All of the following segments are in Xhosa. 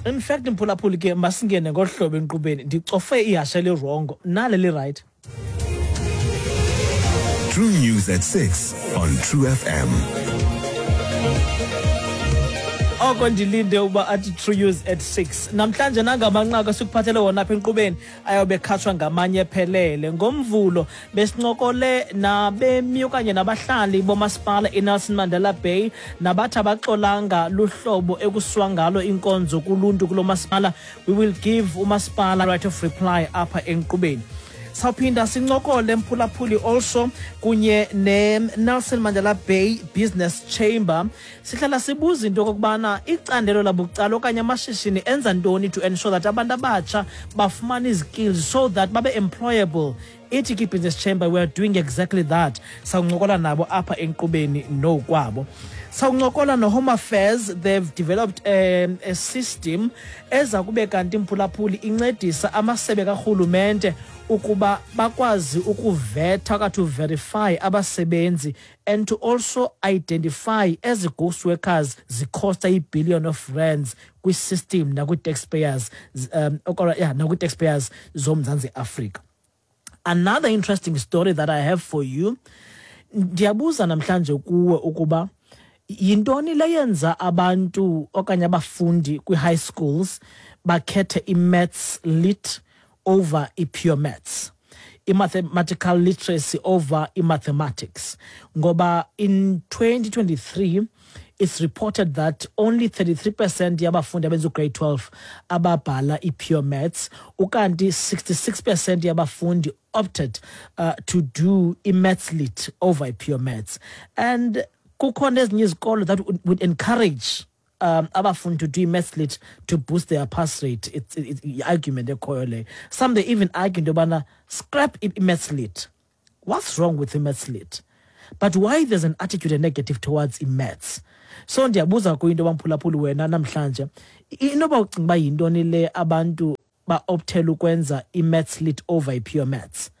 In fact, mphulaphuli, ke masingene ngolu hlobo enkqubeni. Ndicofe ihashe elirongo, nale lirayithi. True News at 6 on True FM. Oko ndilinde uba athi True News at 6 namhlanje, nangamanqaku esikuphathele wona apha enkqubeni ayobe khatshwa ngamanye ephelele. Ngomvulo besincokole nabemi okanye nabahlali bomasipala iNelson Mandela Bay nabathi abaxolanga luhlobo ekusiwa ngalo inkonzo kuluntu kulo masipala. We will give umasipala right of reply apha enkqubeni. Sawuphinda sincokole, mphulaphuli, also kunye ne-Nelson Mandela Bay Business Chamber. Sihlala sibuza into okokubana icandelo labucala okanye amashishini enza ntoni to ensure that abantu abatsha bafumana izikills so that babe employable. Ithi ke i-Business Chamber, we are doing exactly that. Sawuncokola nabo apha enkqubeni nokwabo. Sawuncokola no-Home Affairs. They've developed a system eza kube kanti, mphulaphuli, incedisa amasebe karhulumente ukuba bakwazi ukuvetha okanye to verify abasebenzi and to also identify ezi ghost workers zikhosta i-billion of rands kwi-system nakwi-taxpayers, yeah, nakwi-taxpayers zoMzantsi Afrika. Another interesting story that I have for you, ndiyabuza namhlanje kuwe ukuba yintoni leyenza abantu okanye abafundi kwi-high schools bakhethe i-maths lit over i-pure maths, i-mathematical literacy over i-mathematics, ngoba in 2023 it's reported that only 33% yabafundi abenza ugrade 12 ababhala i-pure maths, ukanti 66% yabafundi opted to do i-maths lit over i-pure maths. And kukhona ezinye izikolo that would encourage abafundi to do i-maths lit to boost their pass rate. It's i-argument ekhoyo le. Some, they even argue into yobana scrap i-maths lit. What's wrong with i-maths lit? But why there's an attitude and negative towards i-maths? So ndiyabuza kuyinto bamphulaphuli wena namhlanje, inoba ucinga uba yintoni le abantu ba-optela ukwenza i-maths lit over i-pure maths?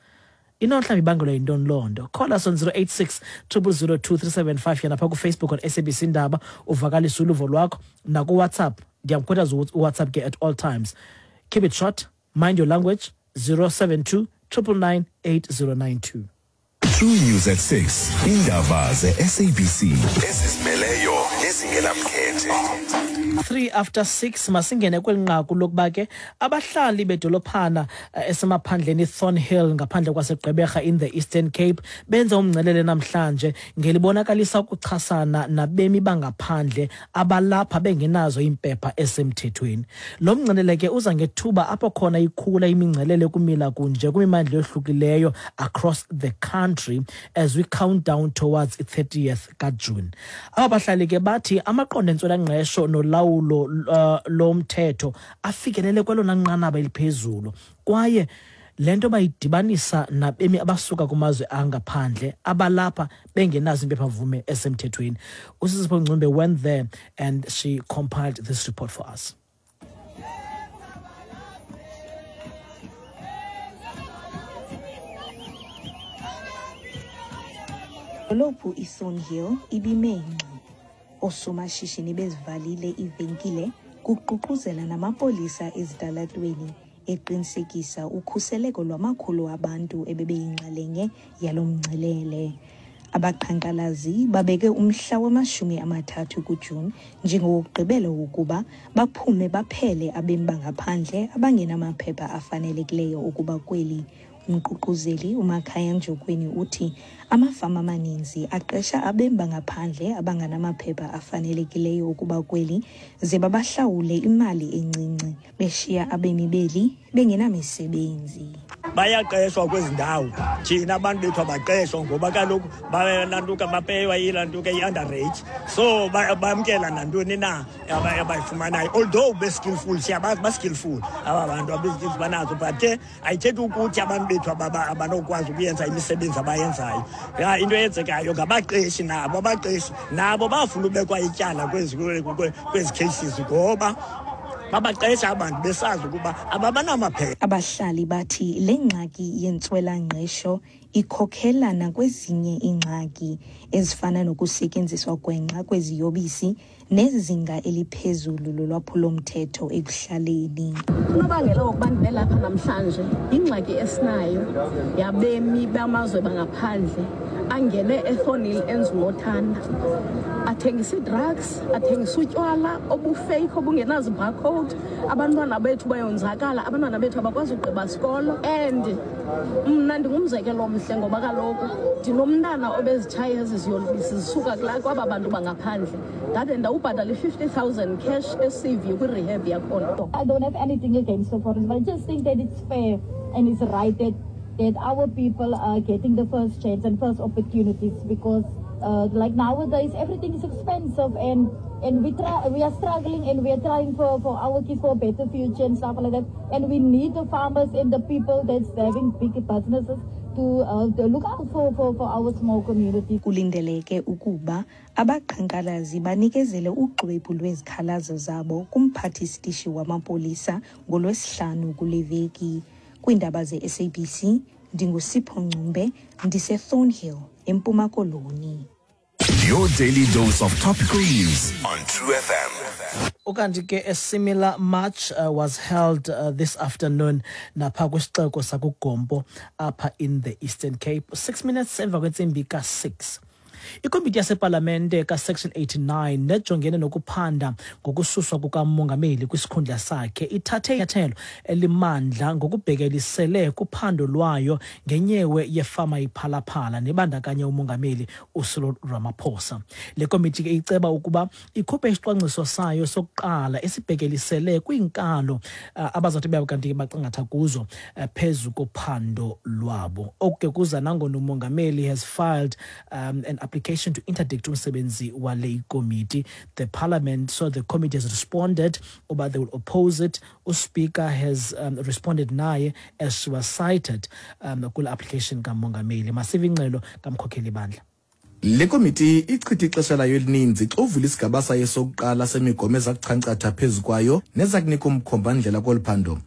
Ino mhlawumbi ibangelwa yintoni loo nto? Call us on 086 000 2375, yena phaa kuFacebook on SABC Indaba, uvakalise uluvo lwakho. NakuWhatsApp, ndiyamkhuthaza uWhatsApp ke at all times. Keep it short, mind your language, 072 999 8092. True News at 6. Indaba ze-SABC ezizimeleyo nezingenamkhethe. 3 after 6, masingene kweli nqaku lokuba ke abahlali bedolophana esemaphandleni iThornhill ngaphandle kwaseGqeberha in the Eastern Cape benze umngcelele namhlanje ngelibonakalisa ukuchasana nabemi bangaphandle abalapha bengenazo iimpepha esemthethweni. Lo mngcelele ke uza ngethuba apho khona ikhula imingcelele kumila kunje kwimimandla yohlukileyo across the country as we count down towards i-30th kaJuni. Aba bahlali ke bathi amaqondo entswelangqesho nolawulo lomthetho afikelele kwelona nqanaba eliphezulu, kwaye le nto bayidibanisa nabemi abasuka kumazwe angaphandle abalapha bengenazo impephamvume esemthethweni. USisipho Ncumbe went there and she compiled this report for us. Dolophu iThornhill ibime ngxi. Oosomashishini bezivalile iivenkile, kuququzela namapolisa ezitalatweni eqinisekisa ukhuseleko lwamakhulu abantu ebebeyinxalenye yalo mngcelele. Abaqhankqalazi babeke umhla wama-30 kuJuni njengowokugqibela wokuba baphume baphele abemi bangaphandle abangenamaphepha afanelekileyo ukuba kweli. Umququzeli uMakhaya Njokweni uthi amafama amaninzi aqesha abemi bangaphandle abanganamaphepha afanelekileyo ukuba kweli ze babahlawule imali encinci, beshiya abemi beli bengenamisebenzi. Bayaqeshwa kwezi ndawo, thina abantu bethu abaqeshwa ngoba kaloku balantuka bapeywa ilantuka i-underage, so bamkela nantoni na abayifumanayo. Although be-skillful, siyabazi ba-skillful aba bantu, abezi-skills banazo, but ke ayithethi ukuthi abantu bethu abanokwazi ukuyenza imisebenzi abayenzayo. Ya, into eyenzekayo ngabaqeshi nabo, abaqeshi nabo bafuna ubekwa ityala kwezi cases ngoba Babaqesha abantu besazi ukuba ababanamaphepha. Abahlali bathi le ngxaki yentswelangqesho ikhokhela nakwezinye iingxaki ezifana nokusetyenziswa gwenxa kweziyobisi nezinga eliphezulu lolwaphulomthetho ekuhlaleni. Unobangela wokuba ndibe lapha namhlanje yingxaki esinayo yabemi bamazwe bangaphandle angene eThornhill enza unothanda, athengisa ii-drugs, athengisa utywala obufeyikhi obungenazi-barcode. Abantwana bethu bayonzakala, abantwana bethu abakwazi ugqiba sikolo. And mna ndingumzekelo omhle ngoba kaloku ndinomntana obezitshaya ezi ziyobisi zisuka kwaba bantu bangaphandle, ndade ndawubhatala i-50,000 cash eCV kwi-rehab yakhona. I don't have anything against the foreigners, but I just think that it's fair and it's right that our people are getting the first chance and first opportunities, because like nowadays everything is expensive and we are struggling and we are trying for our kids for a better future and stuff like that. And we need the farmers and the people that's having big businesses to look out for our small community. Kulindeleke ukuba abaqhankqalazi banikezele uxwebhu lwezikhalazo zabo kumphathisitishi wamapolisa ngoLwesihlanu kule veki. Kwiindaba ze-SABC, ndinguSipho Ngcumbe, ndiseThornhill, eMpuma Koloni. Your daily dose of topical news on True FM. Ukanti ke a similar march was held this afternoon napha kwisixeko sakuGompo apha in the Eastern Cape. 6 minutes emva kwentsimbi ka-6. Ikomiti yasepalamente kaSection 89 nejongene nokuphanda ngokususwa kukamongameli kwisikhundla sakhe ithathe inyathelo elimandla ngokubhekelisele kuphando lwayo ngenyewe yefama iPhala Phala nebandakanya umongameli uCyril Ramaphosa. Le komiti ke iceba ukuba ikhuphe isicwangciso sayo sokuqala esibhekelisele kwiinkalo abazawuthi babe kanti bacingatha kuzo phezu kophando lwabo. Oku ke kuza nangona umongameli has filed an application to interdict umsebenzi wale komiti. The parliament, so the committee has responded uba they will oppose it. Uspeaker has responded naye as she was cited kule application kamongameli. Masive ingxelo kamkhokheli bandla. Le komiti ichithe ixesha layo elininzi ixovula isigaba sayo sokuqala semigomo eza kuchankcatha phezu kwayo neza kunika umkhombandlela kolu phando.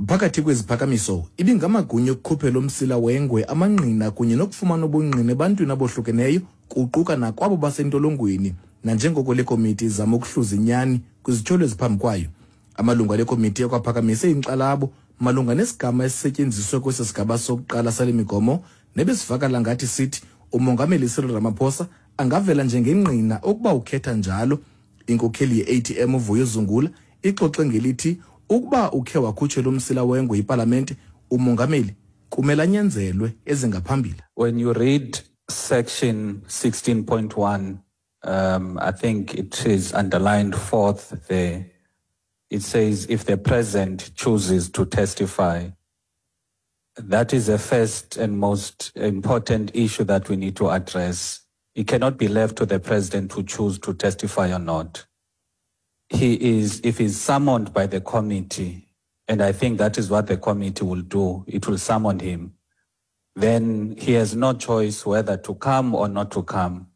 Phakathi kweziphakamiso ibingamagunya okukhuphela umsila wengwe amangqina kunye nokufumana ubungqina ebantwini abohlukeneyo, kuquka nakwabo basentolongweni, nanjengoko le komiti izama ukuhluza inyani kwizityholo eziphambi kwayo. Amalungu ale komiti akwaphakamise inkxalabo malunga nesigama esisetyenziswe kwesi sigaba sokuqala sale migomo nebesivakala ngathi sithi umongameli Cyril Ramaphosa angavela njengengqina ukuba ukhetha njalo. Inkokheli ye-ATM uVuyo Zungula ixoxe ngelithi ukuba ukhe wakhutshelwa umsila wengwe yipalamente, umongameli kumele anyanzelwe ezingaphambili. When you read section 16.1, I think it is underlined fourth there. It says if the president chooses to testify, that is the first and most important issue that we need to address. It cannot be left to the president to choose to testify or not. If he's summoned by the committee, and I think that is what the committee will do, it will summon him, then he has no choice whether to come or not to come.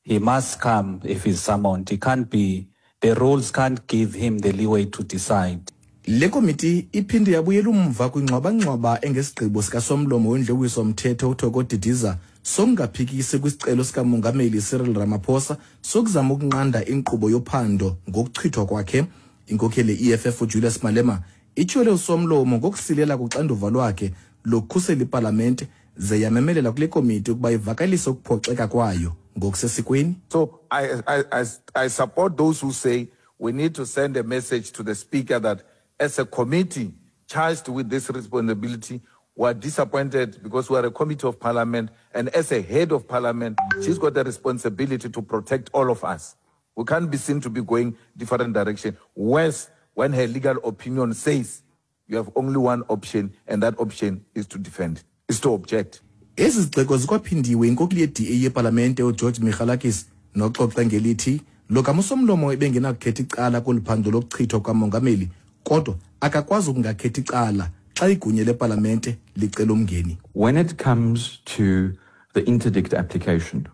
He must come if he's summoned. He can't be, the rules can't give him the leeway to decide. Le komiti iphinde yabuyela umva kwingxwabangxwaba engesigqibo sikasomlomo wendlu mthetho uThoko Didiza sokungaphikisi kwisicelo sikamongameli Cyril Ramaphosa sokuzama ukunqanda inkqubo yophando ngokuchithwa kwakhe. Inkokheli ye-EFF uJulius Malema ityhole usomlomo ngokusilela kuxanduva lwakhe lokukhusela ipalamente, ze yamemelela kule komiti ukuba ivakalise ukuphoxeka kwayo ngokusesikweni. So I support those who say we need to send a message to the speaker that as a committee charged with this responsibility, we are disappointed because we are a committee of parliament, and as a head of parliament, she's got a responsibility to protect all of us. We can't be seen to be going different direction. Worse, when her legal opinion says you have only one option, and that option is to defend, is to object. Ezi zigxeko zikwaphindiwe inkokeli ye-DA yepalamente uGeorge Michalakis noxoxe ngelithi lo kamusomlomo ebengenakukhetha icala kolu phando lokuchithwa kukamongameli, kodwa akakwazi ukungakhethi icala xa igunya lepalamente licela umngeni. When it comes to the interdict application,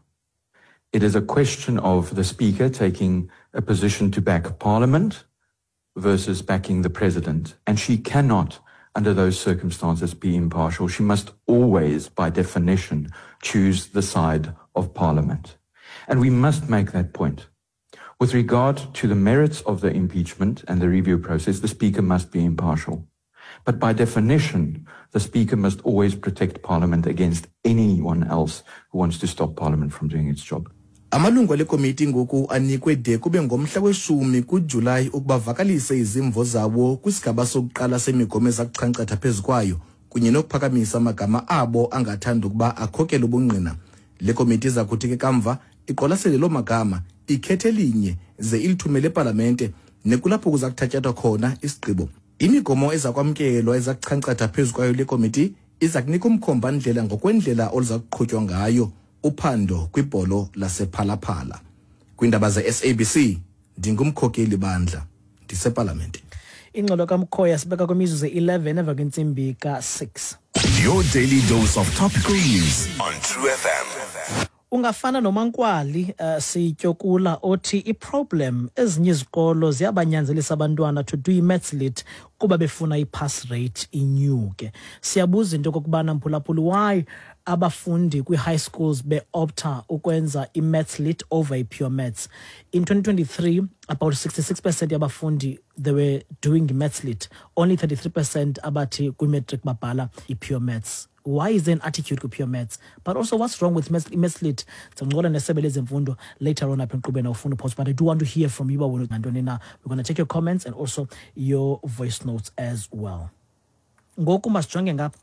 it is a question of the Speaker taking a position to back Parliament versus backing the president. And she cannot, under those circumstances, be impartial. She must always, by definition, choose the side of parliament. And we must make that point. With regard to the merits of the impeachment and the review process, the Speaker must be impartial. But by definition, the Speaker must always protect Parliament against anyone else who wants to stop Parliament from doing its job. Amalungu ale komiti ngoku anikwe de kube ngomhla weshumi kuJulayi ukuba vakalise izimvo zawo kwisigaba sokuqala semigomo eza kuchankcatha phezu kwayo kunye nokuphakamisa amagama abo angathanda ukuba akhokele ubungqina. Le komiti iza kuthi ke kamva iqwalasele loo magama, ikhethe elinye ze ilithumele epalamente nekulapho kuza kuthatyathwa khona isigqibo. Imigomo eza kwamkelwa eza kuchankcatha phezu kwayo le komiti iza kunika umkhomba-ndlela ngokwendlela oluza kuqhutywa ngayo uphando kwibholo lasePhalaphala. Kwiindaba ze-SABC, ndingumkhokeli bandla, ndisepalamente. Ingxelo kaMkhoya sibeka kwimizuzu 11 emva kwentsimbi ka-6. Your daily dose of topical news on True FM. Ungafana noMankwali Sityokula othi iproblem ezinye izikolo ziyabanyanzelisa abantwana to do i-maths lit kuba befuna i-pass rate inyuke. Siyabuza into okokubana, mphulaphuli, why abafundi kwi-high schools be-opta ukwenza i-maths lit over i-pure maths. In 2023, about 66% yabafundi, they were doing maths lit, only 33% abathi kwi-matric babhala i-pure maths. Why is there an attitude kwi-pure maths? But also, what's wrong with maths lit? Sincokola nesebe lezemfundo later on apha enkqubeni awufuna post, but I do want to hear from you uba wena ngantoni na. We're going to take your comments and also your voice notes as well. Ngoku masijonge ngapha.